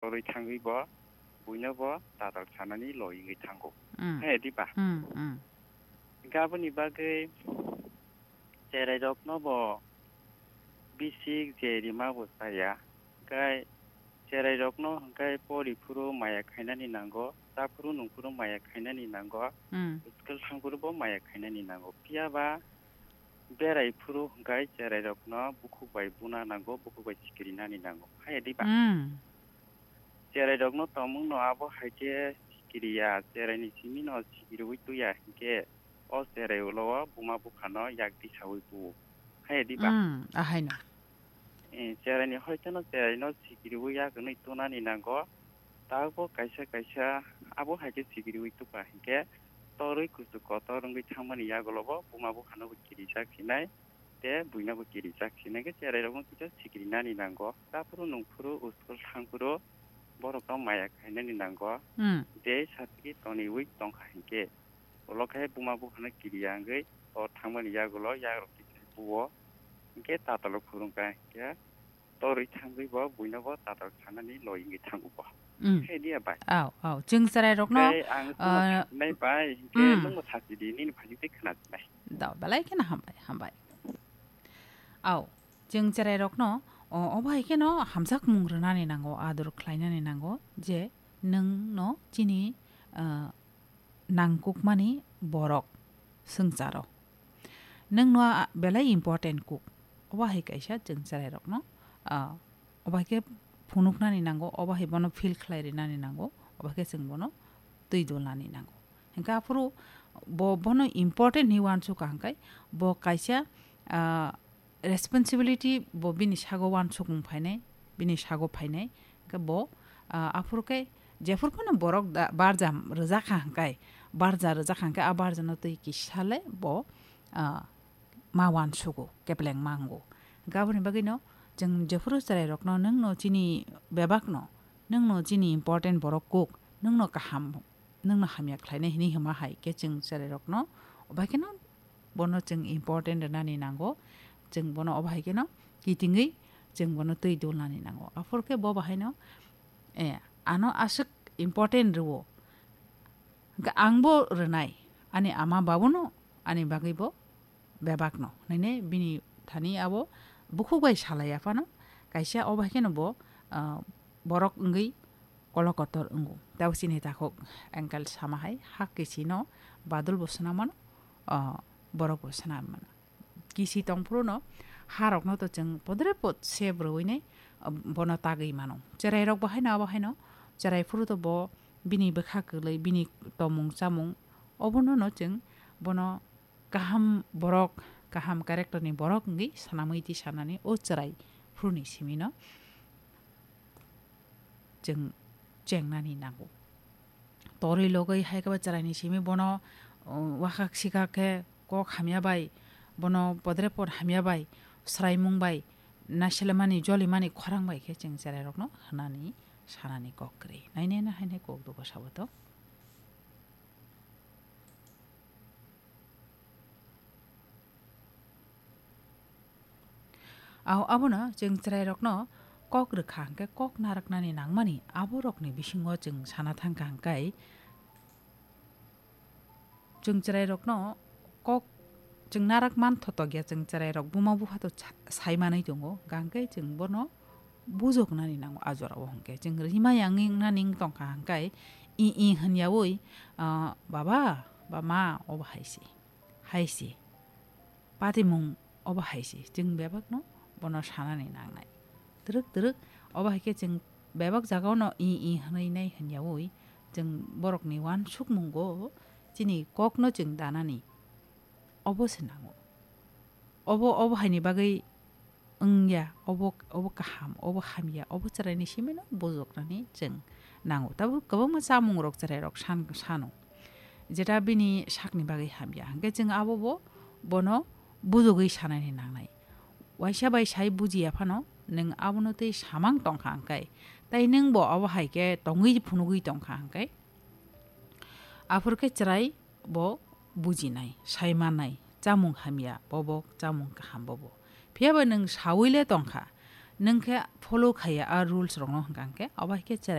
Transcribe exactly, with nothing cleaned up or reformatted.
Torwi thangwi bo buino bo tatal sanani loi wngwi thango. Mm. Hai di ba? Mm, mm. Gaboni bagwi cherairokno bo bisik je rima bo chaya. Hwnkhe cherairokno hwnkhe pori phuru maya khainani nango, cha phuru nung phuru maya khainani nango, Mm. school thang phuru bo maya khainani nango. Phiya ba berai phuru hwnkhe cherairokno bukhuk bai buna nango, bukhuk bai sikirinani nango. Hai di ba? Mm. Cherairokno tongmungno abo hai khe sikiriya, cheraini simino sikiriwi tuya hinkhe o cherai ulo o buma buphano yak disawi bu. Hai di ba? Mm, ahaino. Eh, cheraini hoiteno cheraino sikiriwi yak hwnwi tunani nango. Tabukbo kaisa kaisa abo hai khe sikiriwi tukha hinkhe torwi kuchuk kotor wngwi thangmani yagulo bo buma buphano bo kirijak hinai. Tei buino bo kirijak hinai khe cherairokno kisa sikirinani nango. Cha phuru nung phuru school thang phuru borokno maya khainani nango. Hmm. Tei satigi toniwi tongkha hinkhe ulo khe buma buphano kiriya wngwi o thangmani yagulo yagrok kisa buo. Hinkhe tatalo phurungkha hinkhe torwi thangwi bo buino bo tatal sanani loi wngwi thango bo. Hmm. Khe diya bai. Aw, aw. Chwng cherairokno, Tei ang ah, nai bai hinkhe Hmm. nungbo sachidi nini phani tei khna nai. Da, belai kheno hambai, hambai. Aw, chwng cherairokno, o, obo hai kheno hamjakmung rwnani nango, adur khlainani nango, je nwngno chini, ah, nangkukmani borok swngcharo. Nwngno a, belai important kuk. Obo hai kaisa chwng cherairokno, ah, obo hai khe phunuknani nango, obo hai bono feel khlai rinani nango, obo hai khe chwng bono twi dulnani nango. Hwnkhe aphuru bo, bono important hinwi uansukha hwnkhe bo kaisa, ah, responsibility bo bini sago uansukmung phainai, bini sago phainai. Hwnkhe bo, ah, aphuru khe jephuru phano borok da, barja rwjakha hwnkhe, barja rwjakha hwnkhe a barjano twi kisa le bo, ah, ma uansugo, kepleng ma wngo. Hwnkhe aboni bagwino chwng jephuru cherairokno nwngno chini bebakno, nwngno chini important borok kuk, nwngno kaham nwngno hamya khlainai hinwi hwnma hai khe chwng cherairokno obo hai kheno bono chwng important rwnani nango, chwng bono obo hai kheno kitingwi chwng bono twi dulnani nango. Aphuru khe bo bahaino, eh, ano aswk important rwo, hwnkhe angbo rwnai, ani ama babuno ani bagwibo bebakno. Hwnwi bini thani abo bukhuk bai salai aphano kaisa obo hai kheno bo, ah, borok wngwi kolokotor wngo. Tei chini takhuk angkel sama hai hak kisino badul bo swnam mano, ah, borok bo swnam mano. Kisi tong phuru no harokno to chwng podre pod se bwrwi nai, ah, bono tagwi mano. Cherairok bo haino abo haino cherai phuru to bo bini bwkha kwlwi bini tomung chamung obono no chwng bono kaham borok, kaham character ni borok wngwi sanamwi twi sanani o chwrai phuruni simi no chwng chengnani nango. Torwi logwi hai khe bo chwraini simi bono, uh, wakhak sikha khe kok hamya bai, bono podre pod hamya bai, swraimung bai, naiselemani jolimani khorang bai khe chwng chwrairokno hwnani sanani kok kwrwi. Nainai no haino kok dugo sabo to. Au, abono chwng chwrairokno kok rwkha hwnkhe kok narwknani nangmani aborokni bisingo chwng sana thangkha hwnkhe, chwng chwrairokno kok chwng narwk man thotok ya, chwng chwrairok buma bupha to sa-, sai manwi tongo, hwnkhe chwng bono bujoknani nango a jorao hwnkhe. Chwng rima yang wng nani wng tongkha hwnkhe, i, i hwnyaui, ah, "Baba, ba ma, obo hai se, hai se, patimung obo hai se," chwng bebakno bono sanani nangnai. Twrwk twrwk obo hai khe chwng bebak jagao no i, i hwnwi nai hwnyaui chwng borokni uansukmungo chini kokno chwng danani obo se nango. Obo, obo haini bagwi wngya, obo, obo kaham, obo hamya, obo chwraini simino bujoknani chwng nango. Tabuk kwbangma chamungrok chwrairok san-, sano, jeta bini sakni bagwi hamya, hwnkhe chwng abobo bono bujogwi sanani nangnai. Waisa bai sai bujiya phano nwng abono tei samang tongkha hwnkhe, tei nwngbo obo hai khe tongwi phunugwi tongkha hwnkhe, aphuru khe chwrai bo bujinai, sai mannai, chamung hamya bobo, chamung kaham bobo. Phiya ba nwng saui le tongkha, Nwng khe follow khaiya a rules rokno hwnkha hwnkhe, abo hai khe chera